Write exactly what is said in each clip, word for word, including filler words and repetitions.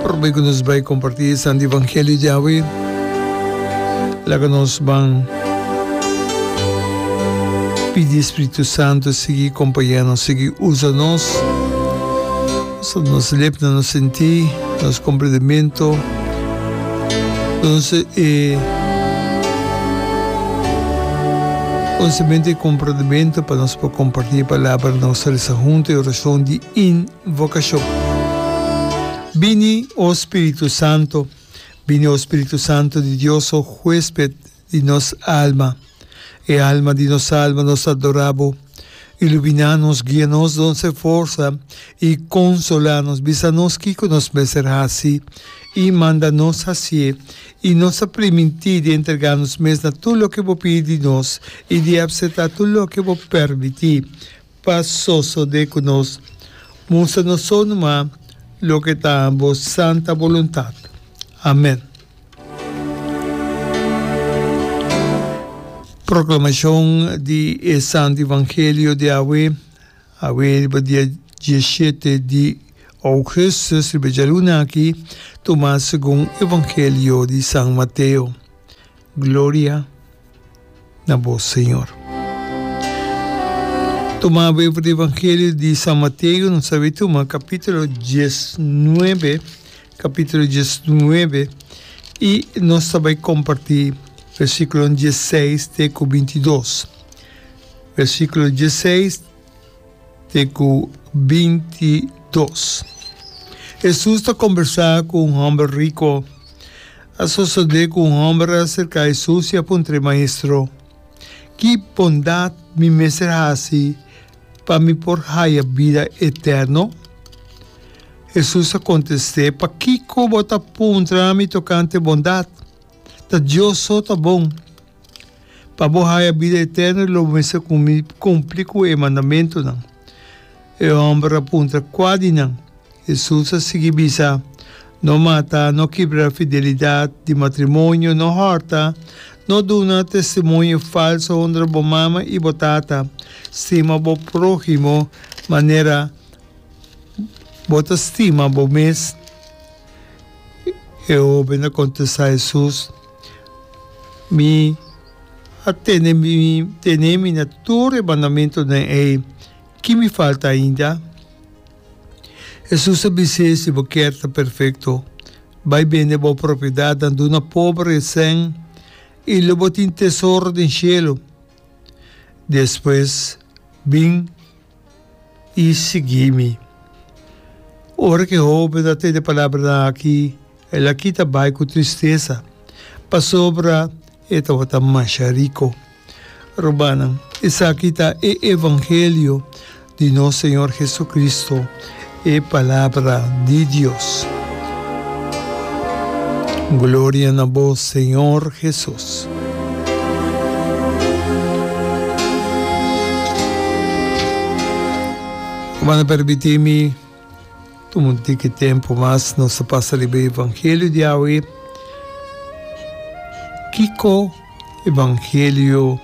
Prome ku nos bai kompartí e Santo Evangelio di awe, laga nos ban pidi e Spiritu Santo sigui kompañá nos, sigui usa nos, usa nos lepnan, nos sentí, nos komprendementu, nos e konosementu i komprendementu pa nos por kompartí e palabra. Nos ta resa huntu e orashon di invokashon. Bini, o Spiritu Santo, bini, o Spiritu Santo di Dios, o huesped di nos alma, e alma di nos alma, nos ta adorá bo. Iluminá nos, guia nos, dons e forsa i konsolá nos. Bisa nos kiko nos mester hasi i manda nos hasié. I nos ta primintí di entregá nos mes na tur loke bo pidi di nos i di apseptá tur loke bo permití pa sosodé ku nos. Mustra nos so numa loke ta bo santa boluntat. Amèn. Proklamashon di e Santu Evangelio di awe, awe riba dia diesshete di ougùstùs, riba djaluna aki, tumá segun Evangelio di San Mateo. Gloria na bo, Señor. Tuma awe for di Evangelio di San Mateo, nos ta bay tuma capítulo diesnuebe, capítulo diesnuebe, y nos ta bay comparti versículo diesseis te cu bintidos. Versículo diesseis te cu binti dos. Hesus ta combersa cu un homber rico. A sosode cu un homber a acerca Hesus y a puntr'e, Maestro, ki bondad mi mester haci pa mi por haya bida eterno? Hesus a contest'e, Pakico bo ta puntra mi tocante bondad? Ta Dios so ta bon. Pa bo haya bida eterno lo bo mester kumpli ku e mandamentunan. E hòmber a puntra, Kua di nan? Hesus a sigui bisa, No mata, no kibra fidelidat di matrimonio, no hòrta, no duna testimonio falsu, honra bo mama i bo tata, stima bo próhimo manera bo ta stima bo mes. E hóben a kontestá Hesus, Mi a tene mi tene mi na tur e mandamentunan ei, ki mi falta ainda? Hesus a bis'é, Si bo kier ta perfekto, bai bende bo propiedatnan, duna pober e sèn, i lo bo tin tesoro den shelu. Despues bin i sigui mi. Ora ku e hóben a tende e palabranan aki, el a kita bai ku tristesa, pasobra e tabata masha riko. Rumannan, esaki ta e evangelio di nos Señor Jesucristo, e Palabra di Dios. Gloria na bo, Señor Jesus. Bo a permiti mi tuma un tiki tempo mas nos ta pasa riba e evangelio di awe. Kiko evangelio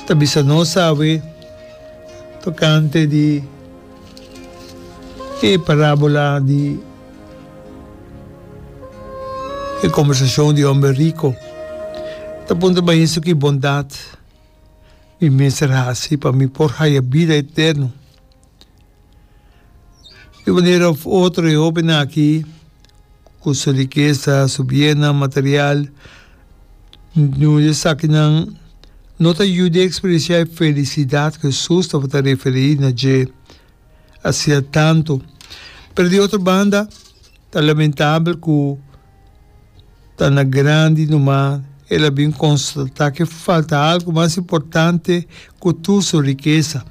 ta bisa nos awe tocante di e parabola di e kombersashon di homber riko ta puntra Maestro ki bondat mi mester hasi pa mi por haya bida eterno. Di un manera of otro e hobennan aki ku su rikesa, su biennan material, niun di esakinan no ta yuda eksperensiá e felisidat ku Hesus tabata referí na dje. Asina tantu. Pero di otro banda, ta lamentabel ku ta na grandi numa el a bin konstatá ke falta algu mas importante ku tur su rikesa.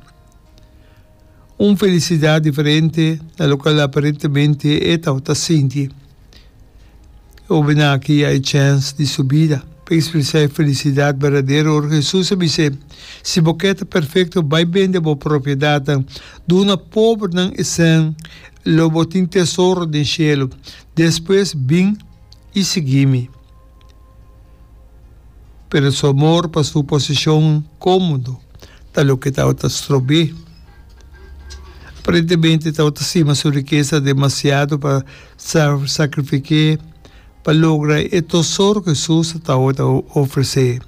Un felisidat diferente na lokual aparentemente e tabata sinti. E hoben aki a e chèns di su bida pa ekspresá e felisidat berdadero ora Hesus a bis'é, Si bo ke ta perfekto, bai bende bo propiedatnan, duna pobernan e sèn, lo bo tin tesoro den shelu. Despues bin i sigui mi. Pero su amor pa su posishon kómodo ta loke tabata strob'é. Aparentemente tabata stima su rikesa demasiado pa sakrifik'é pa logra e tesoro ku Hesus tabata ofresé.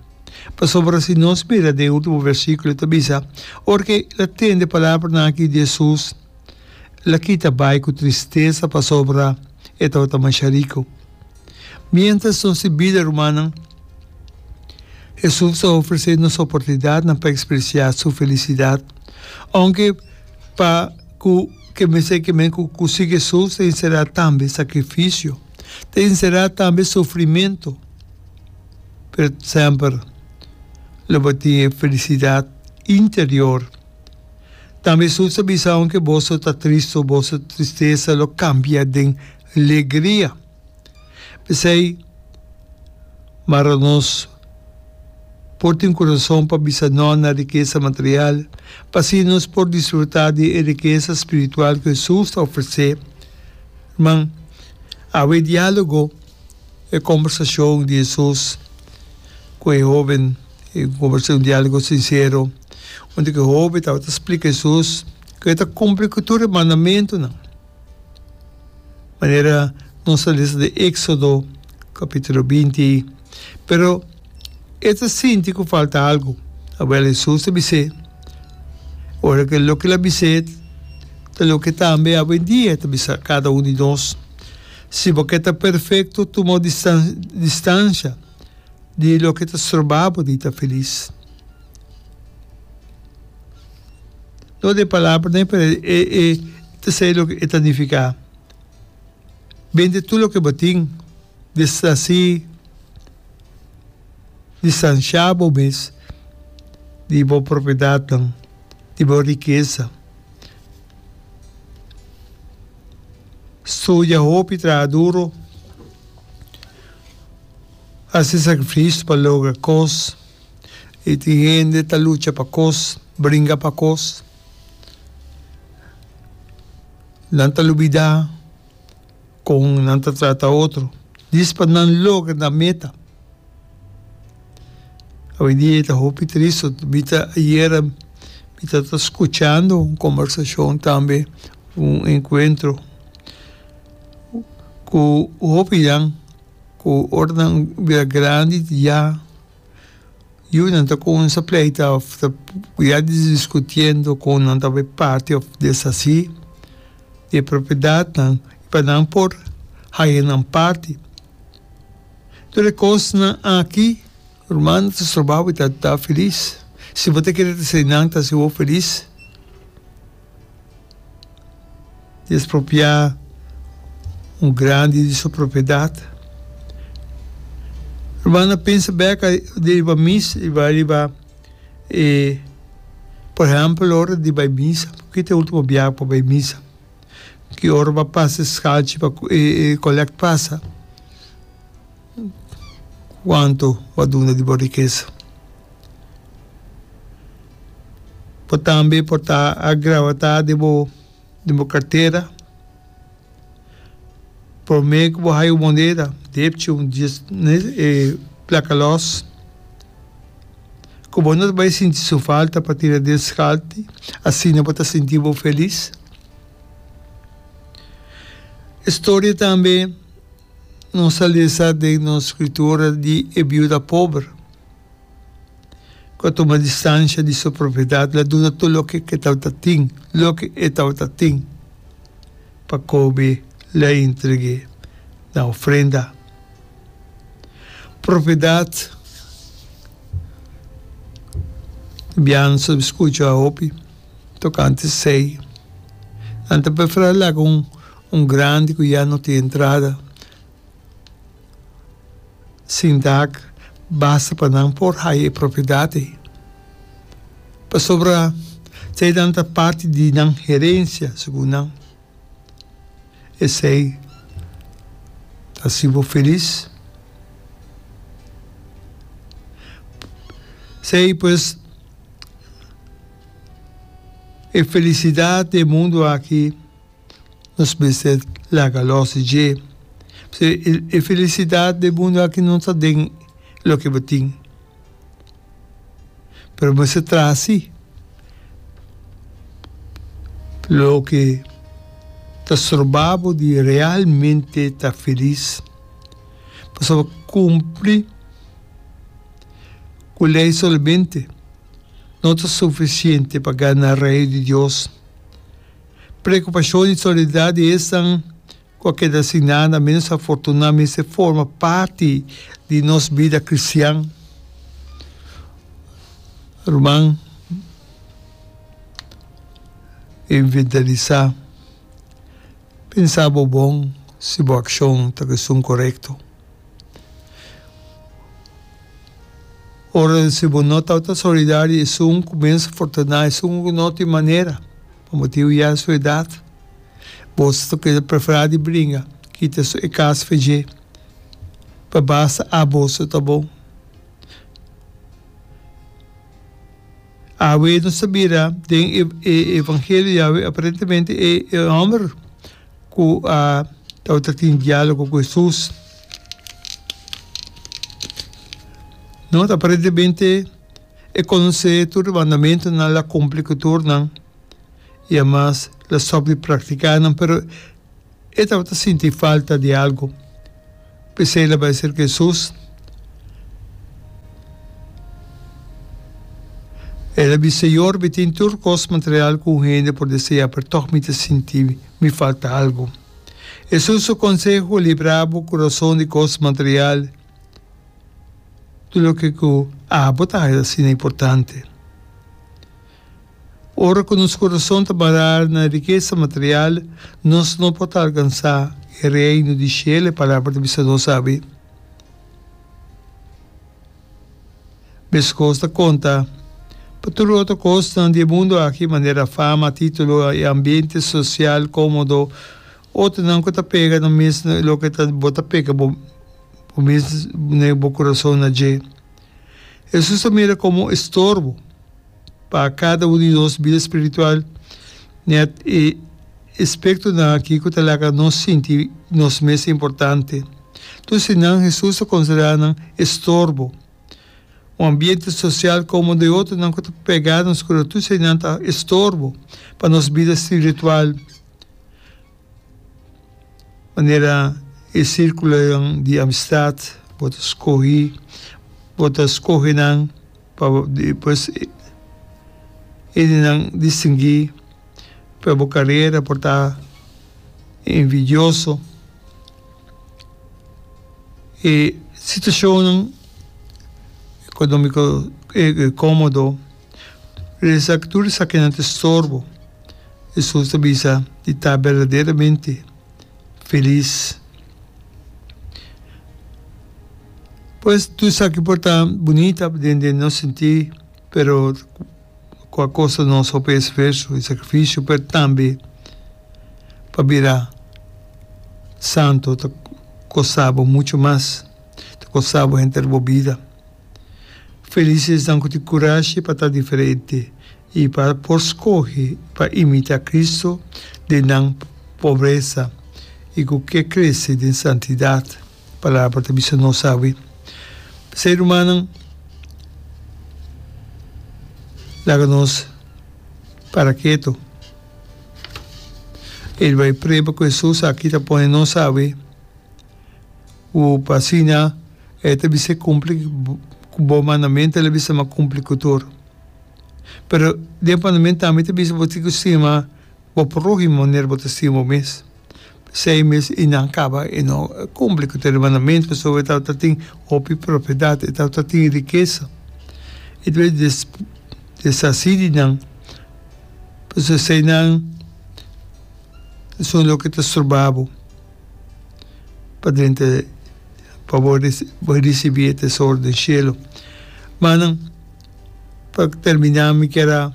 Pasobra si nos mira den e último versíkulo e ta bisa, Ora ku el a tende e palabranan aki di Hesus, el a kita bai ku tristesa pasobra e tabata masha riku. Miéntras nos tin bida, rumannan, Hesus ta ofresé nos oportunidatnan pa ekspresiá su felisidat. Ounke pa ku ke mester ke men ku ku sigui Hesus ta enserá tambe sakrifisio, ta enserá tambe sufrimentu, pero semper lo bo tin e felisidat interior. Tambe Hesus ta bisa, Ounke boso ta tristu, boso tristesa lo kambia den legria. P'esei, mara nos por tin kurason pa bisa nò na rikesa material, pa asina nos por disfrutá di e rikesa spiritual ku Hesus ta ofresé. Ruman, awe e diálogo, e kombersashon di Hesus ku e hóben, e kombersashon, un diálogo sinsero, unda ku e hóben tabata splika Hesus ku e ta kumpli ku tur e mandamentunan. Manera nos ta lesa den Éxodo capítulo binti. Pero e ta sinti cu falta algu. Awel Hesus ta bis'é. Ora cu loke el a bis'é ta loke tambe awendia e ta bisa cada un di nos, Si bo ke ta perfecto, tuma distancia di loke ta stroba bo di ta felis. No den palabranan, pero e e ta esei loke e ta nifiká. Bende tur loke bo tin, deshasí, distanshá bo mes di bo propiedatnan, di bo rikesa. Studia hopi, traha duro, hasi sakrifisio pa logra kos. I tin hende ta lucha pa kos, bringa pa kos. Nan ta lubidá kon nan ta trata otro, djis pa nan logra nan meta. Awendia e ta hopi tristu. Mi ta ayera mi ta ta skuchando un kombersashon tambe, un enkuentro ku hopinan ku ora nan bira grandi ya. Yunan ta cuminsa pleita of ta ya discutiendo con nan ta bay parti of deshaci di e propiedadnan pa nan por haya nan parti. Tur e cosnan aki, ruman, ta stroba bo ta ta feliz. Si bo ta kere ta esey nan ta haci bo feliz. Di espropiá un grandi di su propiedat. Ruman a pensa bek riba misa, riba riba e por ehèmpel ora di bai misa, ki ta e ultimo biaha ku bo bai misa? Ki ora bo a pasa e skalchi pa e e kolèkt pasa? Kuantu bo a duna di bo rikesa? Bo tambe por ta a grabatá den bo den bo kartera. Promé ku bo haya un moneda, depchi un dies e plaka lòs, ku bo no ta bai sinti su falta pa tira den skalti, asina bo ta sinti bo felis. E storia tambe nos a lesa den nos skritura di e biuda pober. Ku a tuma distansha di su propiedat, el a duna tur loke ku e tabata tin, loke e tabata tin pa kobe el a entreg'é na ofrenda. Propiedat Bianca a skucha hopi tokante esei. Nan ta preferá laga un grandi ku ya no tin entrada. Sin dak basta pa nan por haya e propiedat ei, pasobra eseinan ta parti di nan herensia, segun nan. Esei ta hasi bo felis? Esei pues e felisidat di e mundu aki. Nos mester laga los di dje. Pasobra e felisidat den mundu aki no ta den loke bo tin. Pero bo mester traha si. Loke ta stroba bo di realmente ta felis. Pasobra kumpli ku lei solamente no ta sufisiente pa gana Reino di Dios. Preokupashon i solidat di esnan ku a keda sin nada ménos afortuná mester forma parti di nos bida kristian. Ruman inventarisá, pensa bo bon si bo akshon ta esun korekto. Ora si bo no tabata solidario esun ku ménos afortuná, esun ku no tin manera pa motibu ya su edat, boso ta keda preferá di bringa kita e kas fe dje pa basta a boso ta bon. Awe nos ta mira den e evangelio di awe aparentemente e homber ku a tabata tin dialogo ku Hesus. No, aparentemente e konosé tur e mandamentunan, el a kumpli ku tur nan i amas el a stòp di praktiká nan, pero e tabata sinti falta di algu. P'esei el a bai serka Hesus. El a bisa, Señor, mi tin tur kos material ku un hende por deseá, pero tòg mi ta sinti mi falta algu. Hesus su konseho, Librá bo kurason di kos material, tur loke ku abo ta haña asina importante. Ora ku nos kurason ta bará na rikesa material, nos no por ta alkansá e Reino di shelu, e Palabra ta bisa nos abi. Meskos ta konta pa tur otro kosnan di e mundu aki, manera fama, título i ambiente sosial kómodo. Otronan ku ta pega nan mes na loke ta bo ta pega bo mes na bo kurason na dje. Hesus ta mira komo estorbo. Pa kada un di nos bida spiritual, nèt e aspektonan akí ku ta laga nos sinti nos mes importante. Tur eseinan Hesus ta konsiderá nan estorbo. Un ambiente sosial komo di otronan ku ta pegá nos kura, tur eseinan ta estorbo pa nos bida spiritual. Manera e sírkulonan di amistat bo ta skohi, bo ta skohe nan pa despues hendenan distinguí pa bo karera por ta envidioso. E situashonnan ekonómiko kómodo, tur esakinan ta estorbo. Hesus ta bisa di ta berdaderamente felis. Pues tur esaki por ta bunita den den nos sintí, pero ku a kosta nos hopi esfuerso i sakrifisio, pero tambe pa bira santu ta kosta bo muchu mas, ta kosta bo henter bo bida. Felis esnan ku tin kurashi pa ta diferente i pa por skohe pa imitá Kristu den nan pobresa i ku ke krese den santidat, Palabra ta bisa nos awe. P'esei, rumannan, laga nos para ketu. E bai prueba ku Hesus aki ta pone nos awe. Ku pa asina e ta bisa kumpli ku bo mandamentu, el a bisa ma kumpli ku tur. Pero den mandamentu tambe ta bisa bo tin ku stima bo próhimo manera bo ta stima bo mes. P'esei mes i nan kaba e no kumpli ku tur e mandamentu pasobra e tabata tin hopi propiedat, e tabata tin rikesa. E ta deshasí di nan, pasobra eseinan esun loke ta stroba bo. Pa drenta pa bo ricibi e tesoro den cielo. Manan, pa termina mi kier a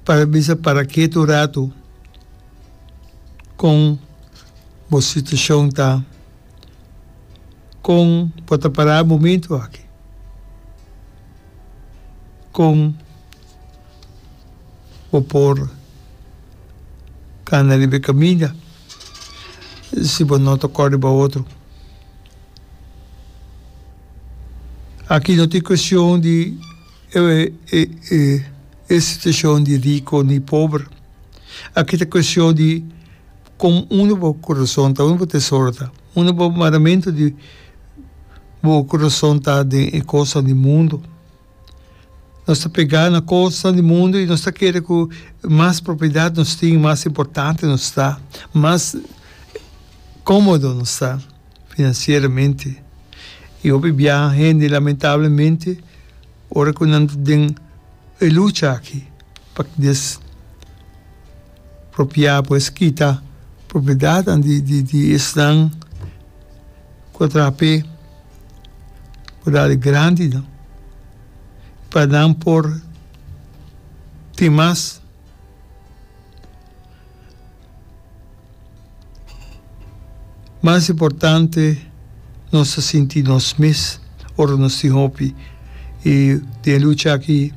para bisa para ketu un rato con bo situacion ta, con bo ta para e momento aki, con. Bo por cana riba e caminda si bo no ta cor riba otro. Aki no tin cuestion di e E situashon di rico ni pober. Aki ta cuestion di con unda bo curason ta, unda bo tesoro ta, unda bo maramento di bo curason ta den e cosnan di mundo. Nos ta pega na cosnan di mundo y nos ta kere cu mas propiedad nos tin, mas importante nos ta, mas comodo nos ta financieramente. Y hopi biaha hende lamentablemente ora cu nan ta den e lucha aki pa despropia, pues kita propiedadnan di di di esnan cu a traha p'e propiedad grandinan pa nan por tin mas. Mas importante nos ta sinti nos mes ora nos tin hopi y den e lucha aki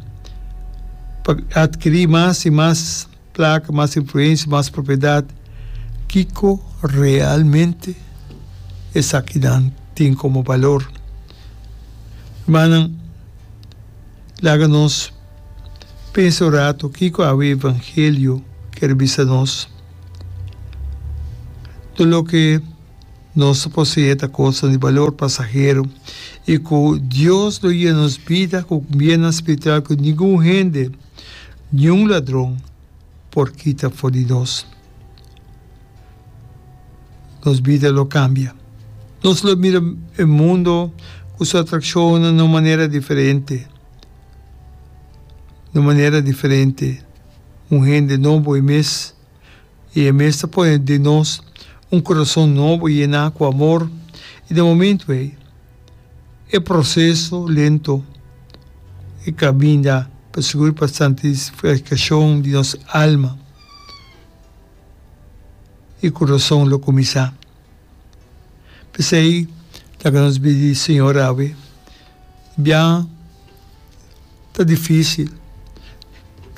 pa adkiri mas y mas placa, mas influencia, mas propiedad, kico realmente esakinan tin como balor? Hermannan, laga nos pensa un rato kico awe Evangelio kier bisa nos. Tur loke nos ta poseé ta kosnan di balor pasahero i ku Dios lo yena nos bida ku biennan spiritual ku ningun hende, niun ladron por kita for di nos. Nos bida lo kambia. Nos lo mira e mundo ku su atrakshonnan na un manera diferente, na un manera diferente. Un hende nobo e mes. I e mes ta pone den nos un kurason nobo yená ku amor, i den momentu ei e proseso lento e kaminda pa sigur pa santifikashon di nos alma i kurason lo kuminsá. P'esei laga nos bidi Señor awe bia. Ta difícil.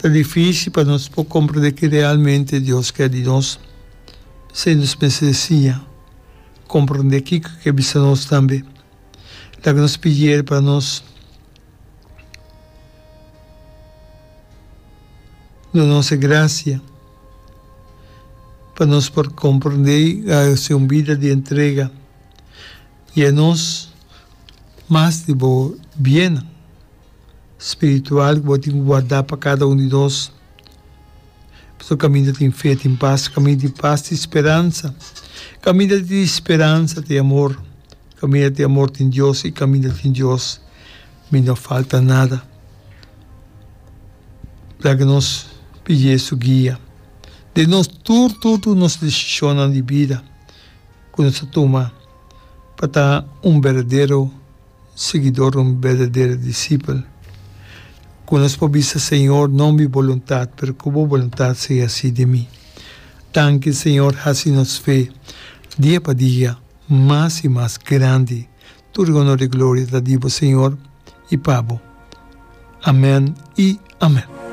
Ta difícil pa nos por comprende ki realmente Dios kier di nos. P'esei nos mester siña comprende kiko e ke bisa nos tambe. Laga nos pidier pa nos duna nos e gracia pa nos por comprende i haci un bida di entrega i a nos mas di bo biennan. Spiritual ku bo tin ku guardá pa kada un di nos. Pasobra kaminda tin fe tin pas, kaminda tin pas tin speransa, kaminda tin speransa tin amor, kaminda tin amor tin Dios i kaminda tin Dios mi no falta nada. Laga nos pidié su guia den nos tur tur tur nos desishonnan di bida ku nos ta tuma pa ta un berdadero Siguidor un berdadero disipel. Ku nos por bisa, Señor, no mi boluntat, pero ku bo boluntat sea hasi den mi. Danki, Señor, hasi nos fe dia pa dia mas i mas grandi. Tur honor i gloria ta di bo, Señor, i pa bo. Amen i amen.